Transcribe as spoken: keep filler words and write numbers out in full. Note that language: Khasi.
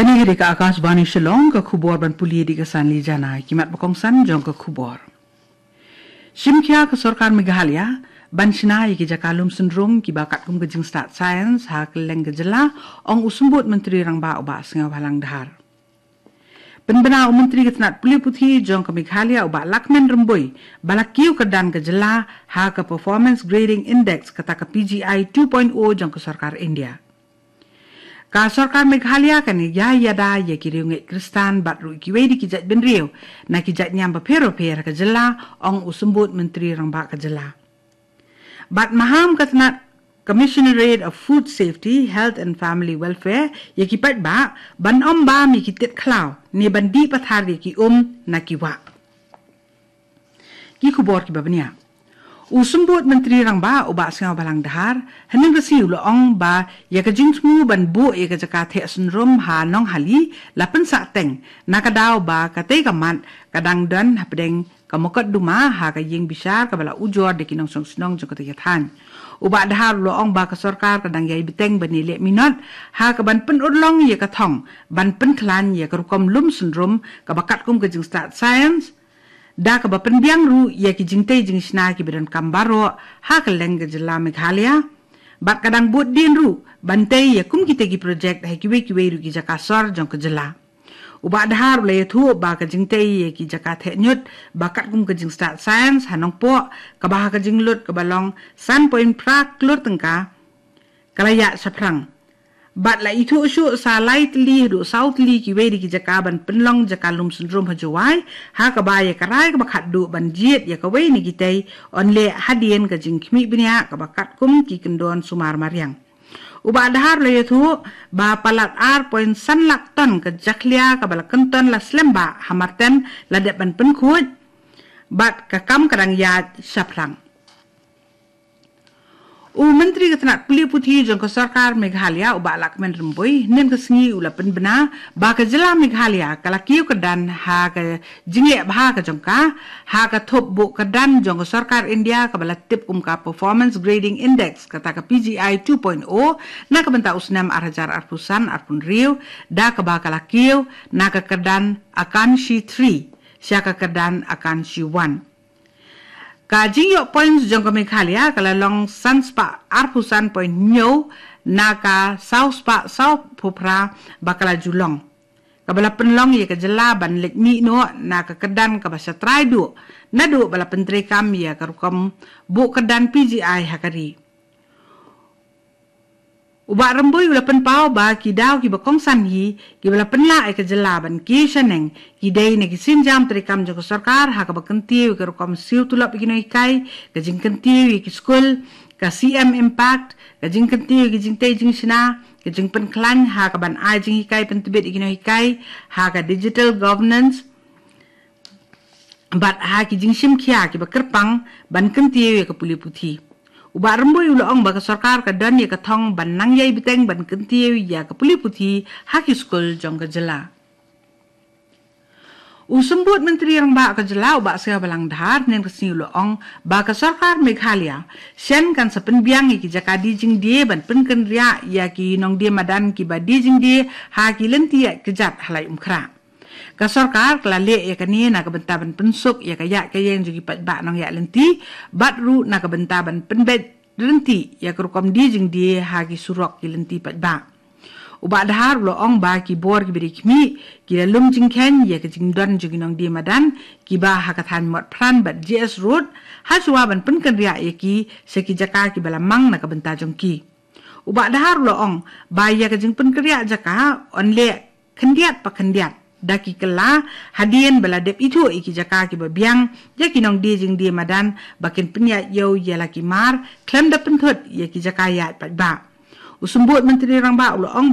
Kane ka dei ka Akashvani Shillong, ka khubor ban pule da ka Sanli Jana, ki mat ba kongsan jong ka khubor. Shim khia ka sorkar Meghalaya ban shna ïa ki jaka lum syndrom kiba katkum ka jingstad science ha kylleng ka jylla, ong u Symbud Myntri Rangbah u Bah Sniawbhalang Dhar. Pynbna u Myntri ka tnat pule puthi jong ka Meghalaya u Bah Lahkmen Rymbui ba la kiew kyrdan ka jylla ha ka Performance Grading Index, kata ka P G I two point o jong ka sorkar India. Ka sorkar Meghalaya kan ïa ïada ïa ki riewngeit Khristan bad ruh kiwei de ki jait bynriew na ki jait niam bapher bapher ha ka jylla, ong u Symbud Myntri Rangbah ka jylla. Bad maham ka tnat Commissionerate of Food Safety, Health and Family Welfare ïa ki paidbah ban ym bam ïa ki tit khlaw ne ban dih pathar ïa ki um na ki wah. Ki khubor kiba bniah. U Symbud Myntri Rangbah u Bah Sniawbhalang Dhar hynnin ka sngi u la ong ba ïa ka jingthmu ban buh ïa ka jaka theh syndrom ha Nonghali la pynsah teng, na ka daw ba katei ka mat ka dang don hapdeng ka mokotduma ha ka ïing bishar kaba la ujor da ki nongshong shnong jong katei ka thaiñ. U Bah Dhar u la ong ba ka sorkar ka dang ïai bteng ban ïaleh minot ha kaban pynurlong ïa ka thong ban pynkhlaiñ ïa ka rukom lum syndrom kaba katkum ka jingstad science, da kaba pynbiang ruh ïa ki jingtei jingshna kiba donkam baroh ha kylleng ka jylla Meghalaya. Bad ka dang bud dien ruh ban tei ïa kum kitei ki projek ha kiwei kiwei ruh ki jaka sor jong ka jylla. U Bah Dhar u la ïathuh ba ka jingtei ïa ki jaka theh ñiut ba katkum ka jingstad science ha Nongpoh, kaba ha ka jinglut kaba long san point phra klur tyngka, ka la ïaid shaphrang. Bad la ithuh shuh sa lai tylli haduh saw tylli kiwei de ki jaka ban pynlong jaka lum syndrom ha Jowai, ha kaba ïa ka rai kaba khatduh ban jied ïa kawei na kitei yn leh hadien ka jingkhmih bniah kaba katkum ki kyndon sumar mariang. U Bah Dhar u la ïathuh ba palat ar point san lak ton ka jakhlia kaba la kynton la slem bha ha Marten la dep ban pynkhuid, bad ka kam ka dang ïaid shaphrang. U Myntri ka tnat pule puthi jong ka sorkar Meghalaya u Bah Lahkmen Rymbui hynnin ka sngi u la pynbna ba ka jylla Meghalaya ka la kiew kyrdan ha ka jingleh bha ka jong ka ha ka thup buh kyrdan jong ka sorkar India kaba la tip kum ka Performance Grading Index, kata ka P G I two point o, na ka bynta u snem ar hajar arphew san arphew hynriew, da kaba ka la kiew na ka kyrdan Akanshi three sha ka kyrdan Akanshi one. Ka jingïoh points jong ka Meghalaya ka la long san spah arphew san point hynñiew na ka saw spah sawphew phra ba ka la ju long, kaba la pynlong ïa ka jylla ban leit mih noh na ka kyrdan kaba sha trai duh naduh ba la pyntreikam ïa ka rukom buh kyrdan P G I ha ka ri. U Bah Rymbui u la pynpaw ba ki daw kiba kongsan hi kiba la pynlah ïa ka jylla ban kiew shaneng ki dei na ki sienjam treikam jong ka sorkar ha kaba kyntiew ïa ka rukom siew tulop ïa ki nonghikai, ka jingkyntiew ïa ki skul, ka C M Impact, ka jingkyntiew ïa ki jingtei jingshna, ka jingpynkhlaiñ ha kaban ai jinghikai pyntbit ïa ki nonghikai, ha ka digital governance, bad ha ki jingshim khia kiba kyrpang ban kyntiew ïa ka pule puthi. U Bah Rymbui u la ong ba ka sorkar ka don ïa ka thong ban nang ïai bteng ban kyntiew ïa ka pule puthi ha ki skul jong ka jylla. U Symbud Myntri Rangbah ka jylla u Bah Sniawbhalang Dhar hynnin ka sngi u la ong ba ka sorkar Meghalaya shen kan sa pynbiang ïa ki jaka die jingdie ban pynkynriah ïa ki nongdie madan kiba die jingdie ha ki lynti ïaid kjat ha Laitumkhrah. Ka sorkar ka la leh ïa kane na ka bynta ban pynsuk ïa ka ïaid ka ïeng jong ki paidbah nongïaid lynti, bad ruh na ka bynta ban pynbeit ryntih ïa ka rukom die jingdie ha ki surok ki lynti paidbah. U Bah Dhar u la ong ba ki bor kiba dei khmih ki la lum jingkheiñ ïa ka jingdon jong ki nongdie madan kiba ha ka thaiñ Motphran bad J S Road, ha shuwa ban pynkynriah ïa ki sha ki jaka kiba la mang na ka bynta jong ki. U Bah Dhar u la ong ba ïa ka jingpynkynriah jaka yn leh khyndiat pa khyndiat da ki kylla, hadien ba la dep ithuh ïa ki jaka kiba biang ïa ki nongdie jingdie madan ba kin pynïaid ïew ïa la ki mar khlem da pynthut ïa ki jaka ïaid paidbah. U Symbud Myntri Rangbah u la ong